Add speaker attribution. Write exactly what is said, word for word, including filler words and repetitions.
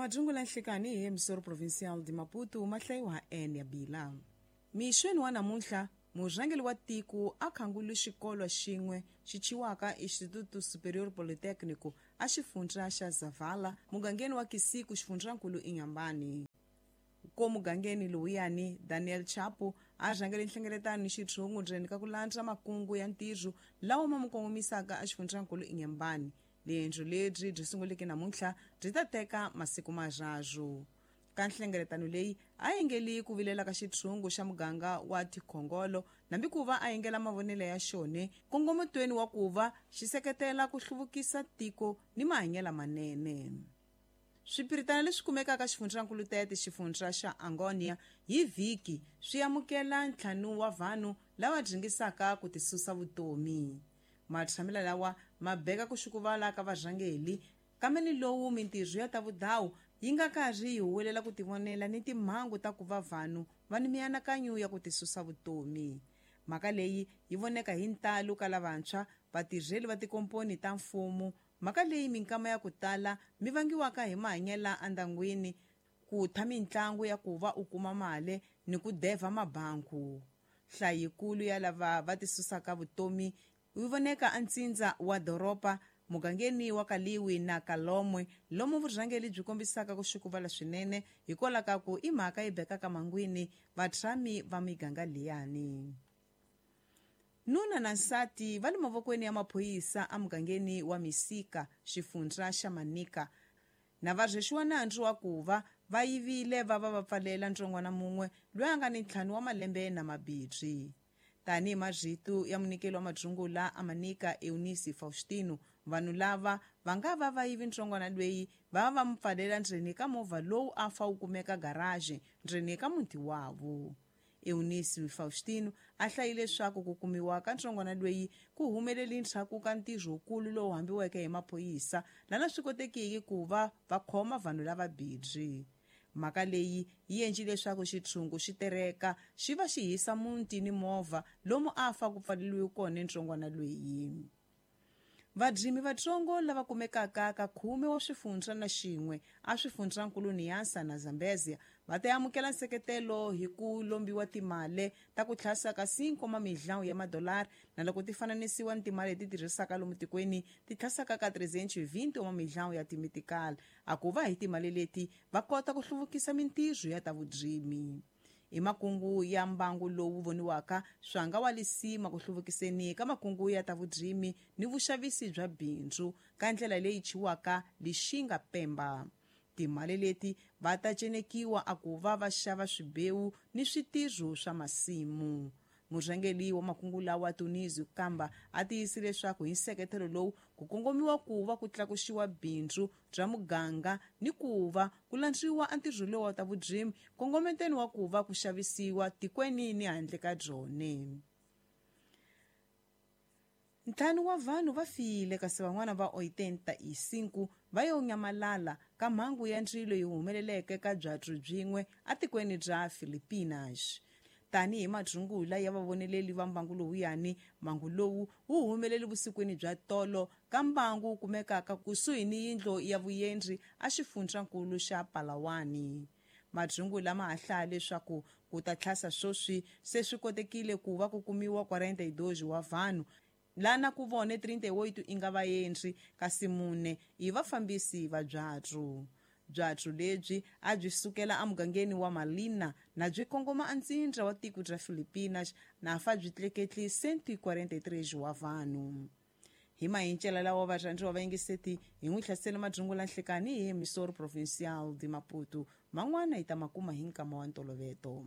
Speaker 1: Majungula nhlekani hi emissora provincial de Maputo mahlayiwa enya bila. Mixweni wa namuntlha murhangeri wa tiko a khangule xikolo xin'we xi chiwaka Instituto Superior Politécnico a xifundza xa Zavala mugangeni wa Kisiku xifundzankulu Inhambane. Ko mugangeni lowuyani Daniel Chapo a rhangele nhlengeletano ni xitshungu ndzeni ka ku landza makungu ya ntirho lawa ma mu kongomisaka a xifundzankulu Inhambane. Riendzo lebyi byi sunguleke namuntlha byi ta teka masiku marharhu. Ka nhlengeletano leyi a yingeli ku vilela ka xitshungu xa muganga wa Tikhongolo nambi ku va a yingela mavonelo ya xone kongomotweni wa ku va xi seketela ku hluvukisa tiko ni mahanyelo manene. Swipiritana leswi kumekaka xifundzankulu Tete xifundza xa Angonia hi vhiki swi amukela ntlhanu wa vanhu lava dzingisaka ku tisusa vutomi. Matshamela lawa ma beka ku xukuvala ka varhangeli kambe ni lowu mintirho ya ta vudawu yi nga karhi yi huwelela ku tivonela ni timhangu ta ku va vanhu va ni mianakanyo ya ku tisusa vutomi. Mhaka leyi yi voneka hi ntalo ka lavantshwa vatirheli va tikomponi ta mfumo. Mhaka leyi minkama ya ku tala mi vangiwaka hi mahanyela andangwini ku tha mintlangu ya ku va u kuma mali ni ku devha mabanku. Hlayikulu ya lava va tisusaka vutomi yi voneka antsindza wa doroba mugangeni wa Kaliwi na Kalomwe lomu vurhangeri byi kombisaka ku xukuvala swinene hikwalaho ka ku i mhaka yi bekaka mangwini vatshami va miganga liyani. Nuna na nsati va le mavokweni ya maphorisa emugangeni wa Misika xifundza xa Manika na va rhwexiwa nandzu wa ku va va yivile va va va pfalela ntsongwana mun'we loyi a nga ni ntlhanu wa malembe na mabibyi. Tanihi marito ya munyikeli wa madzungula a Manika Eunice Faustino, vanhu lava va nga va va yivi ntsongwana loyi va va mu pfalela ndzeni ka movha lowu a fa wu kumeka garage ndzeni ka muti wavo. Eunice Faustino a hlayile leswaku ku kumiwa ka ntsongwana loyi ku humeleli ndzhaku ka ntirho wukulu lowu hambiweke hi maphorisa lana swi kotekiki ku va va khoma vanhu lava bibyi. Mhaka leyi yi endlile leswaku xitshungu xi tereka xi va xi hisa muti ni movha lomu a fa ku pfaleriwe kona ntsongwana loyi. Vadyimi vatsongo lava kumekaka ka khume wa swifundza na xin'we a swifundzankulu Niassa na Zambezia va ta amukela nseketelo hi ku lombiwa timali ta ku tlhasa ka cinco milhão ya madolari na loko ti fananisiwa ni timali leti tirhisaka lomu tikweni ti tlhasaka ka trezentos e vinte milhão ya timitikali. A ku va hi timali leti va kota ku hluvukisa mintirho ya ta vudyimi. I makungu ya mbangu lowu voniwaka swanga wa lisima ku hluvukiseni ka makungu ya ta vudyimi ni vuxavisi bya bindzu ka ndlela leyi chiwaka Lixinga Pemba. Timali leti va ta cenekiwa a ku va va xava swibewu ni switirho swa masimu. Murhangeri wa makungu lawa Tunisi Kamba a tiyisile leswaku hi nseketelo lowu ku kongomiwa ku va ku tlakusiwa bindzu bya muganga ni ku va ku landziwa ntirho lowu wa ta vudyimi kongometeni wa ku va ku xavisiwa tikweni ni handle ka byone. Ntlhanu wa vanhu va file kasi van'wana va oitenta e cinco va yo nyamalala ka mhangu ya ndzilo yi humeleleke ka byatso byin'we etikweni bya Filipinas. Tanihi madzungula ya vavoneleli va mbangu lowuyani, mbangu lowu wu humelele vusikwini bya tolo ka mbangu wu kumekaka kusuhi ni yindlu ya vuendzi a xifundzankulu xa Palawani. Madzungula ma ha hlaya leswaku ku ta tlhasa sweswi se swi kotekile ku va ku kumiwa quarenta e dois wa vanhu lana ku vone trinta e oito i nga vaendzi kasi mune i vafambisi va byatso. Byatso lebyi a byi sukela emugangeni wa Malina na byi kongoma antsindza wa tiko bya Filipinas na fa byi tleketli cento e quarenta e três wa vanhu. Hi mahincela lawa varhandziwa va yingiseti hi n'wi hlasele madzungula nhlekani hi emissora provincial de Maputo. Man'wana hi ta ma kuma hi nkama wa ntoloveto.